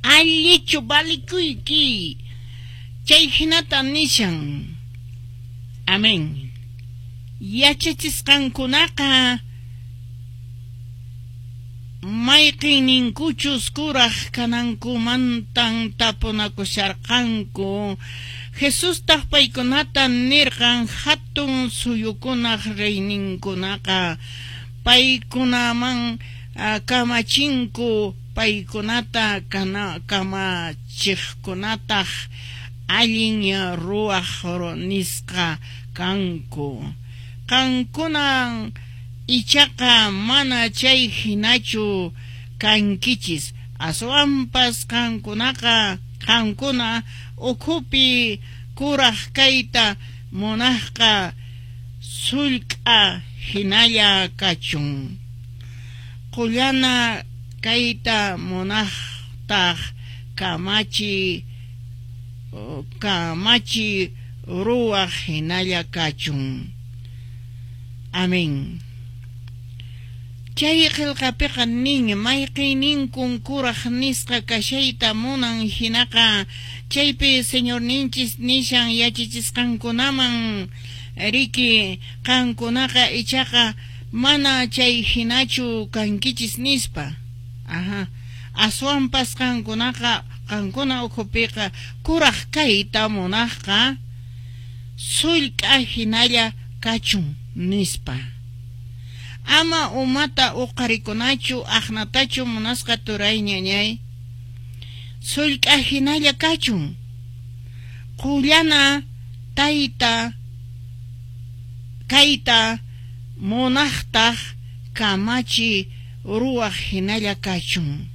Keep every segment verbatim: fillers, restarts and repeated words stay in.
Allichu valikuyki. Chay hinata nishan. Amén. Yachachisqankunaqa mayqinninkuchus kuraq kanankumantan tapunakusharqanku. Jesustaq paykunata nirqan hatun suyukunaq reyninkunaqa paykunaman kamachinku, paykunata kamachiqkunataq allin ruwaq nisqa kanku. Qankunan ichaqa mana chay hinachu kankichis, aswanpas qankunaqa qankuna ukhupi kuraq kayta munaqqa sullk'a hinalla kachun. Qullana kayta munaqtaq kamachi kamachi ruwaq hinalla kachun. Amén. Chay qillqapiqa nin mayqinninkun kuraq nisqa kashayta munan hinaqa chaypi Señorninchis nishan yachachisqankunaman riki qankunaqa ichaqa mana chay hinachu kankichis nispa. Aha. Aswanpas qankunaqa qankuna ukhupiqa kuraq kayta munaqqa sullk'a hinalla kachun nispa. Ama umata uqarikunachu aqnatachu munasqa turay ñañay. Sullk'a hinalla kachun. Qullana tayta kayta munaqtaq kamachi ruwaq hinalla kachun.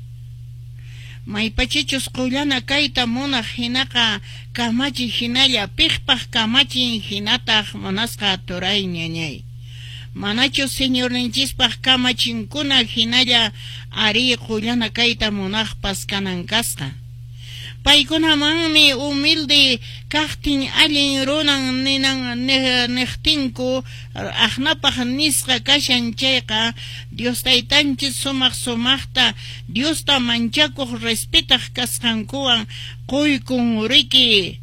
Maypachichus qullana kayta munaq hinaqa kamachi hinalla piqpaq kamachin hinataq munasqa turay ñañay. Manachu Señorninchispaq kamachinkuna hinalla ari qullana kayta munaqpas kanan kasqa. Paykunamanmi humilde kaqtin allin runan ninan niqtinku aqnapaq nisqa kashan chayqa Dios taytanchis sumaq sumaqta Diosta manchakuq respetaq kasqankuwan quykun riki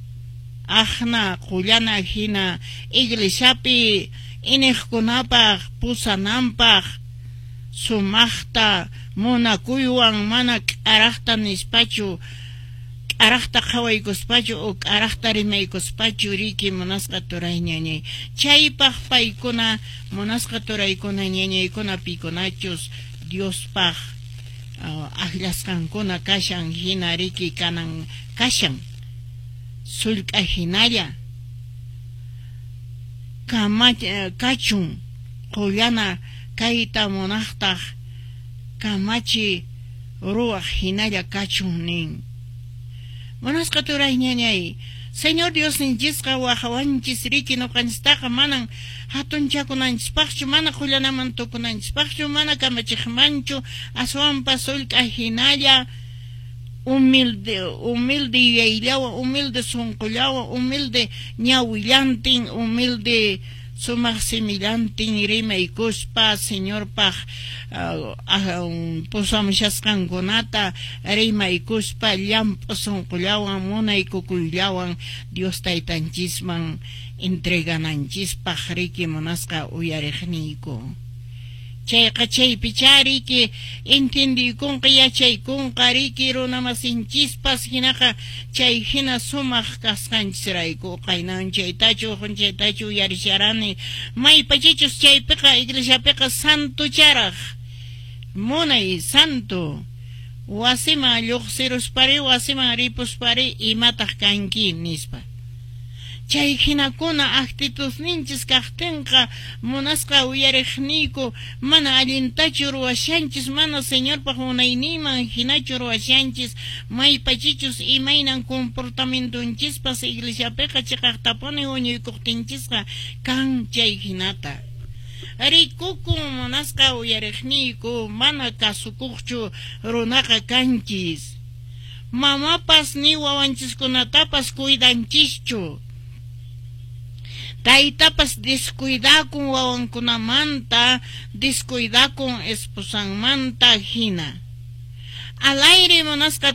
aqna qullana hina iglesiapi iniqkunapaq pusananpaq sumaqta munakuywan mana k'araqta nispachu k'araqta qhawaykuspachu o k'araqta rimaykuspachu riki munasqa turay ñañay. Chaypaq paykuna munasqa turaykuna ñañaykuna pikunachus Diospaq aqllasqankuna kashan hina riki kanan kashan sullk'a hinalla kachun qullana kayta munaqtaq kamachi ruwaq hinalla kachun nin. Munasqa turay ñañay, Señor Diosninchisqa wahawanchis riki ñuqanchistaqa manan hatunchakunanchispaqchu, mana qullanaman tukunanchispaqchu, mana kamachiqmanchu, aswanpas sullk'a hinalla humilde humilde yuyayllawan, humilde sunqullawan, humilde ñawillantin, humilde sumaq simillantin rimaykuspa Señorpaq pusamushasqankunata rimaykuspa llamp'u sunqullawan munaykukuyllawan Dios taytanchisman entregananchispaq riki munasqa uyariqniyku. Chayqa chaypicha riki entendiykunqa yachaykunqa riki runamasinchispas hinaqa chay hina sumaq kasqanchisrayku qaynan chaytachu chaytachu uyarisharani maypachichus chaypiqa iglesiapiqa santucharaq munay santo wasiman lluqsiruspari wasiman ripuspari imataq kanki nispa. Chay hinakuna actitudninchis kaqtinqa munasqa uyariqniyku mana allintachu ruwashanchis, mana Señorpaq munayninman hinachu ruwashanchis, maypachichus imaynan comportamientonchispas iglesiapiqa chiqaqtapuni huñuykuqtinchisqa kan chay hinata. Rikukun munasqa uyariqniyku mana kasukuqchu runaqa kanchis. Mamapas ni wawanchiskunatapas cuidanchischu. Taytapas descuidakun wawankunamanta, descuidakun esposanmanta hina. Al aire munasqa